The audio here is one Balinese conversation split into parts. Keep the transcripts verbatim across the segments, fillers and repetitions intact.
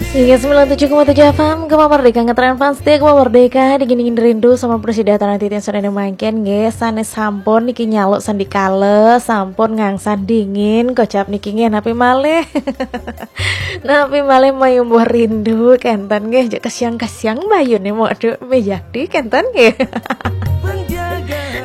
Iya, sembilan tujuh koma tujuh F M, Gema Merdeka, ngetren fans setia Gema Merdeka, dingin-dingin rindu sama prasida titiang sané mangkin nggih, sané sampun niki nyaluk sandikala, sampun ngangsan dingin, kocap niki nggih, napi malih. Napi malih mayumbuh rindu, kénten nggih, jek kesiang-kesiang bayune, waduh, mejati, kénten nggih.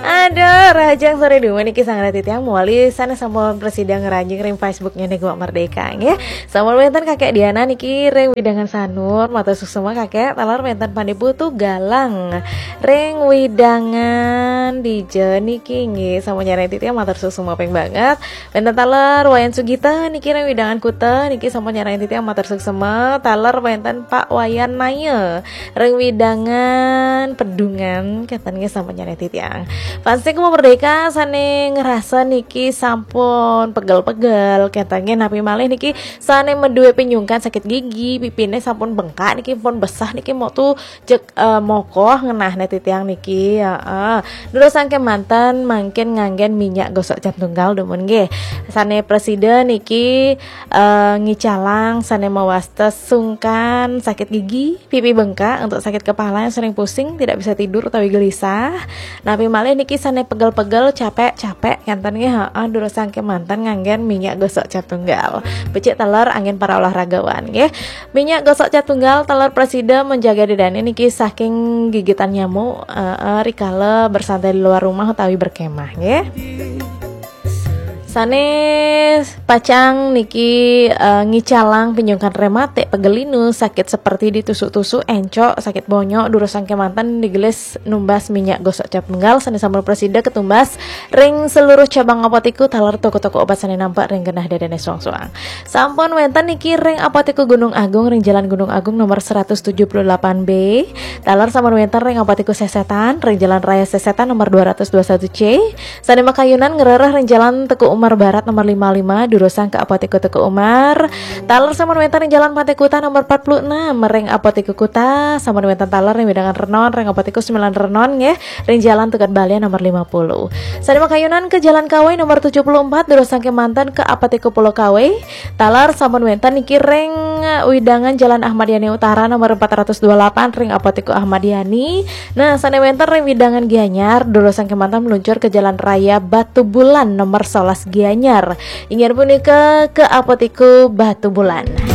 Aduh, rahajeng sore dumun niki sareng titiang mawali sané sampun prasida ngranjing ring Facebooknya nih Gema Merdeka nggih. Sampun wénten Kakek Diana niki ring wewidangan Sanur, matur suksma Kakek, taler wénten Pandé Putu Galang ring wewidangan dija niki nggih, sampun nyarengin titiang matur suksma ping banget. Wénten taler Wayan Sugita niki ring wewidangan Kuta niki sampun nyarengin titiang matur suksma, taler wénten Pak Wayan Naya ring wewidangan Pedungan, kénten nggih sampun nyarengin titiang. Fans Gema Merdeka sané ngrasa niki sampun pegel-pegel, kénten nggih, napi malih niki sané madué pinyungkan sakit gigi, pipiné sampun bengkak niki, pun besah niki, motu jek, eh, mokoh ngenahné titiang niki, heeh. Durusang kémanten mangkin nganggén minyak gosok cap tunggal dumun nggih. Sané prasida niki, eh, ngicalang sané mawasta sungkan sakit gigi, pipi bengkak, untuk sakit kepala yang sering pusing, tidak bisa tidur utawi gelisah. Napi malih niki sané pegel-pegel, capek-capek, kénten nggih, heeh, durusang kémanten nganggén minyak gosok cap tunggal. Becik taler anggén para olahragawan nggih. Minyak gosok cap tunggal taler prasida menjaga dadané niki saking gigitan nyamuk, heeh, rikala bersantai di luar rumah utawi berkemah nggih. Sané pacang niki, eh, ngicalang pinyungkan rematik, pegel linu, sakit seperti ditusuk-tusuk, encok, sakit bonyok, durusang kémanten digelis numbas minyak gosok cap tunggal sané sampun prasida katumbas ring seluruh cabang Apotiku taler toko-toko obat sané nampek ring genah dadané suang-suang. Sampun wénten niki ring Apotiku Gunung Agung ring Jalan Gunung Agung nomor seratus tujuh puluh delapan B. Taler sampun wénten ring Apotiku Sesetan ring Jalan Raya Sesetan nomor dua ratus dua satu C. Sané makayunan ngrereh ring Jalan Teuku Umar Barat nomor lima lima, durusang ka Apotiku Teuku Umar. Taler sampun wénten ring Jalan Pantai Kuta nomor empat puluh enam, ring Apotiku Kuta, sampun wénten taler ring wewidangan Renon, ring Apotiku Sembilan Renon nggih, ring Jalan Tukad Balian nomor lima puluh. Sané makayunan ke Jalan Kawai nomor tujuh puluh empat, durusang kémanten ke Apotiku Pulau Kawai. Taler sampun wénten niki ring wewidangan Jalan Ahmad Yani Utara nomor empat ratus dua puluh delapan, ring Apotiku Ahmad Yani. Nah, sané wénten ring wewidangan Gianyar, durusang kémanten meluncur ke Jalan Raya Batubulan nomor sebelas Gianyar. Inggih punika ke Apotiku Batubulan.